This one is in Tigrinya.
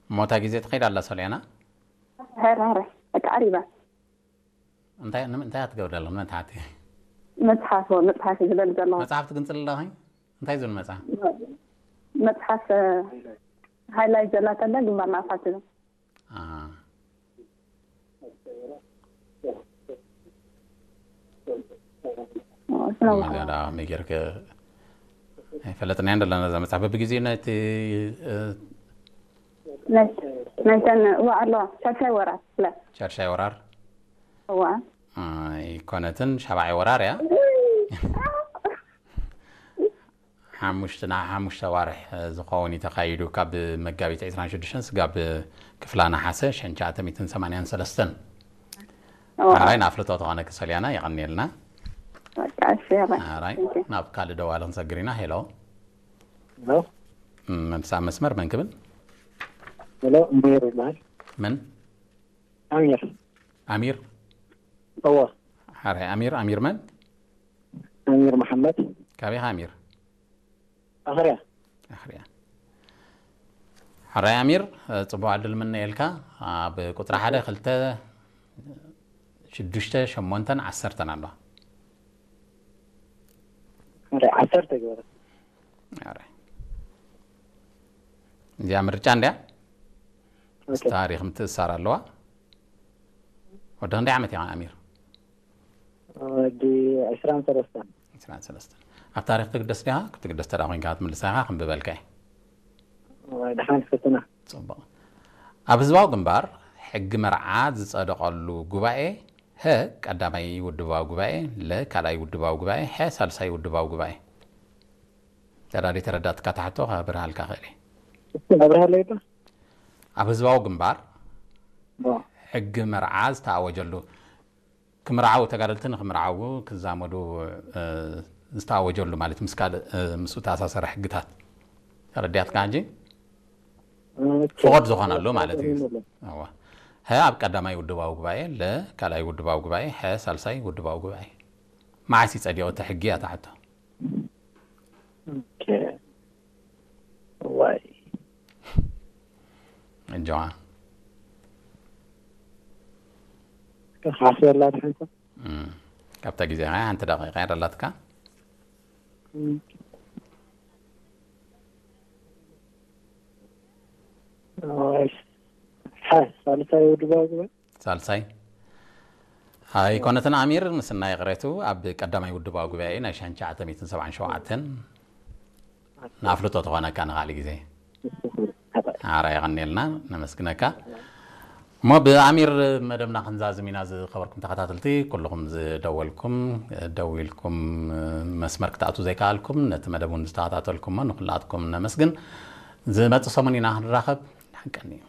እሞ እታ ግዜ ትኸይድ ኣላ ሶልያና? ሕረ ሕረ፣ በቃ ዓሪባ። እንታይ ንም- እንታይ ትገብር ኣለኹ? መጽሓፍቲ? መጽሓፍ፣ መጽሓፍ እዩ ዝደሊ ዘለኹ። መጽሓፍ ትግንጽል ኣለኺ? እንታይ ዝብል መጽሓፍ? መጽሓፍ ሃይላይት ዘላተለ ግንባር ንኣፋት ዝብል። መገዳ መጌርክ ኣይፈለጥናያን ዘለና እዛ መጽሓፍ በብግዜኡ ነቲ ናይተን እዋ ኣለዋ ሻሻይ ወራር ለ ሻሻይ ወራር እዋ ኣይኮነትን ሻባዓይ ወራር እያ። ሓሙሽተ ና ሓሙሽተ ዋርሕ ዝኸውን እዩ ተኻይዱ ካብ መጋቢት ዕስራን ሽዱሽተን ስጋብ ክፍላ ነሓሰ ሸንቻተ ሚትን ሰማንያን ሰለስተን። ሓራይ ንኣፍልጦ ተኾነ ክሰልያና የቐኒልና። ሓራይ ናብ ካልእ ደዋሊ ክንሰግር ኢና። ሄሎ። መብሳ መስመር መን ክብል? ሄሎ፣ እምበይር ይበሃል። መን? ኣሚር። ኣሚር? እወ። ሓራይ ኣሚር፣ ኣሚር መን? ኣሚር መሓመድ። ካበይ ኢኻ ኣሚር? ኣኽርያ። ኣኽርያ። ሓራይ ኣሚር፣ ጽቡቕ ዕድል ምነየልካ። ኣብ ቁጽሪ ሓደ፣ ክልተ፣ ሽዱሽተ፣ ሸሞንተን ዓሰርተን ኣለዋ። ኣረ፣ ዓሰርተ ግበረ። ኣረ። እዚኣ ምርጫ እንድያ? ኦኬ። ምስ ታሪኽ ምትእሳር ኣለዋ። ወዲ ክንደይ ዓመት ኢኻ ኣሚር? ወዲ ዕስራን ሰለስተን። ዕስራን ሰለስተን። ኣብ ታሪኽ ትግደስ ዲኻ? ክትግደስ ተዳ ኮይንካ ክትምልሳ ኢኻ፣ ክንብበልካ እየ። ድሓን ክፍትና። ጽቡቕ። ኣብ ህዝባዊ ግንባር ሕጊ መርዓ ዝጸደቐሉ ጉባኤ ሀ ቀዳማይ ውድባዊ ጉባኤ፣ ለ ካልኣይ ውድባዊ ጉባኤ፣ ሐ ሳልሳይ ውድባዊ ጉባኤ። ተዳዲ ተረዳትካ ታሕቶ ከብርሃልካ ክእል እየ። ኣብርሃለይ ዶ? ኣብ ህዝባዊ ግንባር ዶ? ሕጊ መርዓ ዝተኣወጀሉ፣ ክምርዓው፣ ተጋደልቲ ንክምርዓው ክዛመዱ፣ እ፣ ዝተኣወጀሉ ማለት ምስ ካልእ፣ እ፣ ምስኡ ተኣሳሰረ ሕግታት ተረዲኣትካ ሕጂ? ኦኬ። ፍቑድ ዝኾነሉ ማለት እዩ። ይመለስ። እዋ። ሀ ኣብ ቀዳማይ ውድባዊ ጉባኤ፣ ለ ካልኣይ ውድባዊ ጉባኤ፣ ሐ ሳልሳይ ውድባዊ ጉባኤ። መዓስ እዩ ጸዲቑ እቲ ሕጊ እያ እታ ሕቶ። ኦኬ። ዋይ። እጆዋ። ሓስበላ ድሕንከ? እም። ካብታ ግዜ ኸዓ ሓንቲ ደቂቃ እያ ደላትካ። እም። ዋይ። ሓ፣ ሳልሳይ ውድባዊ ጉባኤ? ሳልሳይ። ኣይኮነትን ኣሚር፣ ምስናይ ይቕሬቱ፣ ኣብ ቀዳማይ ውድባዊ ጉባኤ ናይ ሸንቻ ዓተሚትን ሰብዓን ሸውዓተን ንኣፍልጦ ትኾነካ ንኻልእ ግዜ። ሓራ የቐንየልና፣ ነመስግነካ። እሞ ብኣሚር መደብና ክንዛዝም ኢና። ዝኸበርኩም ተኸታተልቲ፣ ኩልኹም ዝደወልኩም፣ ደዊልኩም መስመር ክትኣትዉ ዘይከኣልኩም፣ ነቲ መደብ እውን ዝተኸታተልኩሞ ንኹላትኩም ነመስግን። ዝመጽእ ሰሙን ኢና ክንራኸብ። ደሓን ቀንዩ።